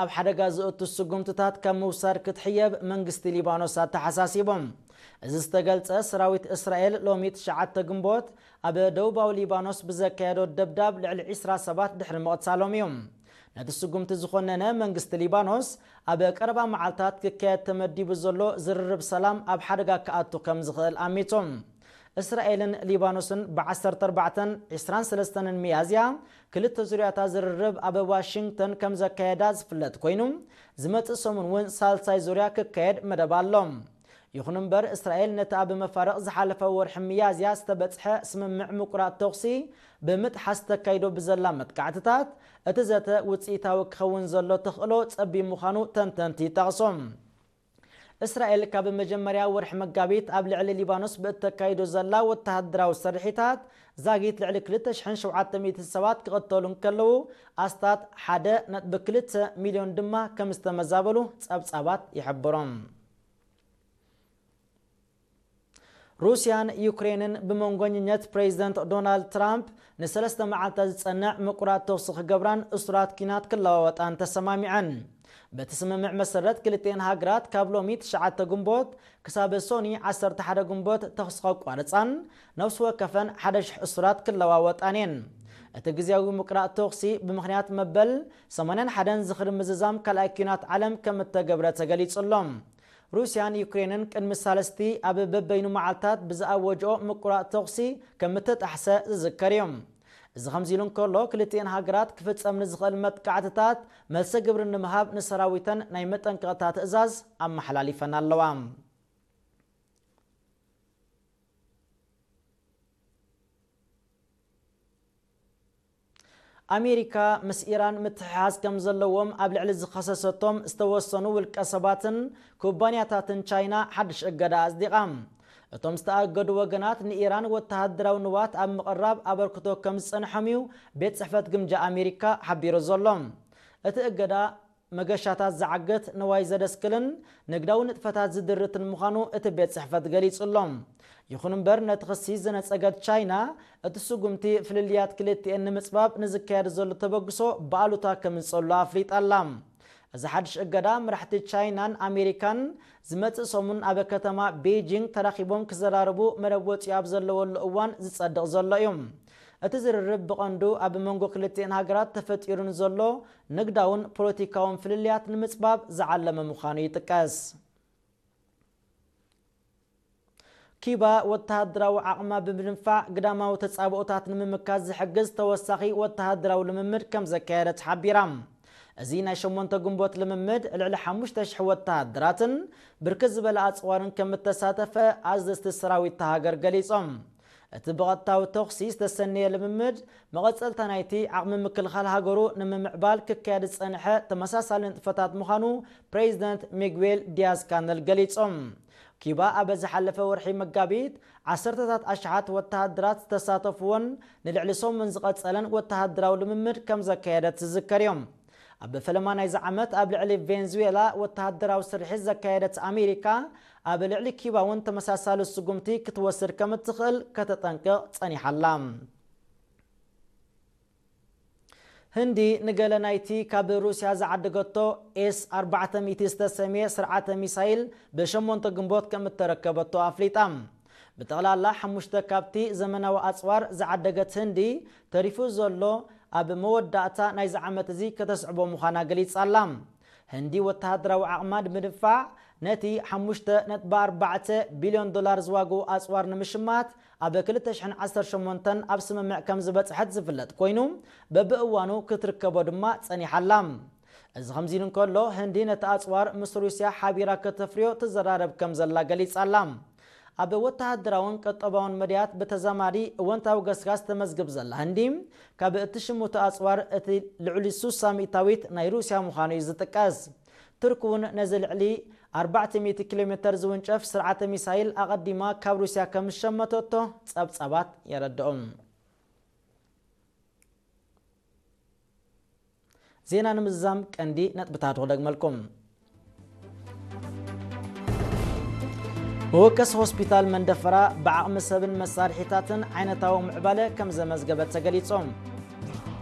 ኣብ ሓደጋ ዘእቱ ስጉምትታት ካብ ምውሳድ ክትሕየብ መንግስቲ ሊባኖስ ኣተሓሳሲቡ። እዚ ዝተገልጸ፣ ሰራዊት እስራኤል ሎሚ ትሽዓተ ግንቦት ኣብ ደቡባዊ ሊባኖስ ብዘካየዶ ደብዳብ ልዕሊ ዕስራ ሰባት ድሕሪ ምቕታሎም እዩ። ነቲ ስጉምቲ ዝኾነነ መንግስቲ ሊባኖስ፣ ኣብ ቀረባ መዓልታት ክካየድ ተመዲቡ ዘሎ ዝርርብ ሰላም ኣብ ሓደጋ ክኣቱ ከም ዝኽእል ኣሚቱ። እስራኤልን ሊባኖስን ብ ዓሰርተ ኣርባዕተን ዕስራን ሰለስተን ሚያዝያ ክልተ ዙርያታት ዝርርብ ኣብ ዋሽንግተን ከም ዘካየዳ ዝፍለጥ ኮይኑ፣ ዝመጽእ ሰሙን እውን ሳልሳይ ዙርያ ክካየድ መደብ ኣሎ። ይኹን እምበር፣ እስራኤል ነቲ ኣብ መፋርቕ ዝሓለፈ ወርሒ ሚያዝያ ዝተበጽሐ ስምምዕ ምቁራጽ ተኹሲ ብምጥሓስ ተካይዶ ብዘላ መጥቃዕትታት፣ እቲ ዘተ ውጽኢታዊ ክኸውን ዘሎ ተኽእሎ ጸቢብ ምዃኑ ተንተንቲ ይጠቕሱ። እስራኤል ካብ መጀመርያ ወርሒ መጋቢት ኣብ ልዕሊ ሊባኖስ ብእተካይዶ ዘላ ወተሃደራዊ ስርሒታት፣ ዛጊት ልዕሊ ክልተ ሽሕን ሸውዓተ ሚእትን ሰባት ክቕተሉ እንከለዉ፣ ኣስታት ሓደ ነጥቢ ክልተ ሚልዮን ድማ ከም ዝተመዛበሉ ጸብጻባት ይሕብሩ። ሩስያን ዩክሬንን ብመንጎኝነት ፕሬዚደንት ዶናልድ ትራምፕ ንሰለስተ መዓልታት ዝጸንዕ ምቁራጽ ተኹሲ ክገብራን እሱራት ኲናት ክለዋወጣን ተሰማሚዐን። በቲ ስምምዕ መሰረት፣ ክልቲኤን ሃገራት ካብ ሎሚ ትሽዓተ ግንቦት ክሳብ ሶኒ ዓሰርተ ሓደ ግንቦት ተኹሲ ከቋርጻን ነፍሲ ወከፈን ሓደ ሽሕ እሱራት ክለዋወጣን እየን። እቲ ግዝያዊ ምቁራጽ ተኹሲ ብምኽንያት መበል ሰማንያን ሓደን ዝኽሪ ምዝዛም ካልኣይ ኲናት ዓለም ከም እተገብረ ተገሊጹ ኣሎ። ሩስያን ዩክሬንን ቅድሚ ሳልስቲ ኣብ በበይኑ መዓልታት ብዝኣወጅኦ ምቁራጽ ተኹሲ ከም እተጣሕሰ ዝዝከር እዩ። እዚ ከምዚ ኢሉ እንከሎ፣ ክልቲኤን ሃገራት ክፍጸም ንዝኽእል መጥቃዕትታት መልሰ ግብሪ ንምሃብ ንሰራዊተን ናይ መጠንቀቕታ ትእዛዝ ኣመሓላሊፈን ኣለዋ። ኣሜሪካ ምስ ኢራን ምትሕሓዝ ከም ዘለዎም ኣብ ልዕሊ ዝኸሰሰቶም ዝተወሰኑ ውልቀ ሰባትን ኩባንያታትን ቻይና ሓድሽ እገዳ ኣጽዲቓ። እቶም ዝተኣገዱ ወገናት ንኢራን ወተሃደራዊ ንዋት ኣብ ምቕራብ ኣበርክቶ ከም ዝጸንሖም እዩ ቤት ጽሕፈት ግምጃ ኣሜሪካ ሓቢሩ ዘሎ። እቲ እገዳ መገሻታት ዝዓግት፣ ንዋይ ዘደስክልን ንግዳዊ ንጥፈታት ዝድርትን ምዃኑ እቲ ቤት ጽሕፈት ገሊጹ ኣሎ። ይኹን እምበር፣ ነቲ ክሲ ዝነጸገት ቻይና፣ እቲ ስጉምቲ ፍልልያት ክልቲኤን ንምጽባብ ንዝካየድ ዘሎ ተበግሶ ብኣሉታ ከም ዝጸሉ ኣፍሊጣ ኣላ። እዚ ሓድሽ እገዳ፣ መራሕቲ ቻይናን ኣሜሪካን ዝመጽእ ሰሙን ኣብ ከተማ ቤጂንግ ተራኺቦም ክዘራረቡ መደብ ወጺኡ ኣብ ዘለወሉ እዋን ዝጸድቕ ዘሎ እዩ። እቲ ዝርርብ ብቐንዱ ኣብ መንጎ ክልቲኤን ሃገራት ተፈጢሩ ንዘሎ ንግዳውን ፖለቲካውን ፍልልያት ንምጽባብ ዝዓለመ ምዃኑ ይጥቀስ። ኪባ ወተሃደራዊ ዓቕማ ብምድንፋዕ ግዳማዊ ተጻብኦታት ንምምካት ዝሕግዝ ተወሳኺ ወተሃደራዊ ልምምድ ከም ዘካየደት ሓቢራ። እዚ ናይ ሸሞንተ ግንቦት ልምምድ ልዕሊ ሓሙሽተ ሽሕ ወተሃደራትን ብርክት ዝበለ ኣጽዋርን ከም እተሳተፈ ኣዘዝቲ ሰራዊት እታ ሃገር ገሊጾም። እቲ ብቐጥታዊ ተኹሲ ዝተሰነየ ልምምድ፣ መቐጸልታ ናይቲ ዓቕሚ ምክልኻል ሃገሩ ንምምዕባል ክካየድ ዝጸንሐ ተመሳሳሊ ንጥፈታት ምዃኑ ፕሬዚደንት ሚግዌል ዲያዝ ካነል ገሊጾም። ኪባ ኣብ ዝሓለፈ ወርሒ መጋቢት ዓሰርተታት ኣሽሓት ወተሃደራት ዝተሳተፍዎን ንልዕሊ ሰሙን ዝቐጸለን ወተሃደራዊ ልምምድ ከም ዘካየደት ዝዝከር እዮም። ኣብ ፈለማ ናይዚ ዓመት ኣብ ልዕሊ ቬንዙዌላ ወተሃደራዊ ስርሒት ዘካየደት ኣሜሪካ፣ ኣብ ልዕሊ ኪባ እውን ተመሳሳሊ ስጉምቲ ክትወስድ ከም እትኽእል ከተጠንቅቕ ጸኒሓ ኣላ። ህንዲ ንገለ ናይቲ ካብ ሩስያ ዝዓደገቶ ኤስ ኣርባዕተ ሚእቲ ዝተሰምየ ስርዓተ ሚሳይል ብሸሞንተ ግንቦት ከም እተረከበቶ ኣፍሊጣ። ብጠቕላላ ሓሙሽተ ካብቲ ዘመናዊ ኣጽዋር ዝዓደገት ህንዲ፣ ተሪፉ ዘሎ ኣብ መወዳእታ ናይዚ ዓመት እዚ ከተስዕቦ ምዃና ገሊጻ ኣላ። ህንዲ ወተሃደራዊ ዓቕማ ንምድንፋዕ ነቲ ሓሙሽተ ነጥቢ ኣርባዕተ ቢልዮን ዶላር ዝዋግኡ ኣጽዋር ንምሽማት ኣብ ክልተ ሽሕን ዓሰርተ ሸሞንተን ኣብ ስምምዕ ከም ዝበጽሐት ዝፍለጥ ኮይኑ፣ በብእዋኑ ክትርከቦ ድማ ጸኒሓ ኣላ። እዚ ከምዚ ኢሉ እንከሎ፣ ህንዲ ነቲ ኣጽዋር ምስ ሩስያ ሓቢራ ከተፍርዮ ትዘራረብ ከም ዘላ ገሊጻ ኣላ። ኣብ ወተሃደራውን ቀጠባውን መድያት ብተዛማዲ እወንታዊ ገስጋስ ተመዝግብ ዘላ ህንዲ፣ ካብ እትሽምቶ ኣጽዋር እቲ ልዕሊ ሱሳ ሚእታዊት ናይ ሩስያ ምዃኑ እዩ ዝጥቀስ። ቱርክ እውን ነዚ ልዕሊ ኣርባዕተ ሚእቲ ኪሎ ሜተር ዝውንጨፍ ስርዓተ ሚሳይል ኣቐዲማ ካብ ሩስያ ከም ዝሸመተቶ ጸብጻባት የረድኦም። ዜና ንምዝዛም ቀንዲ ነጥብታት ክደግመልኩም። መወከሲ ሆስፒታል መንደፈራ ብዓቕሚ ሰብን መሳርሒታትን ዓይነታዊ ምዕባለ ከም ዘመዝገበ ተገሊጹ።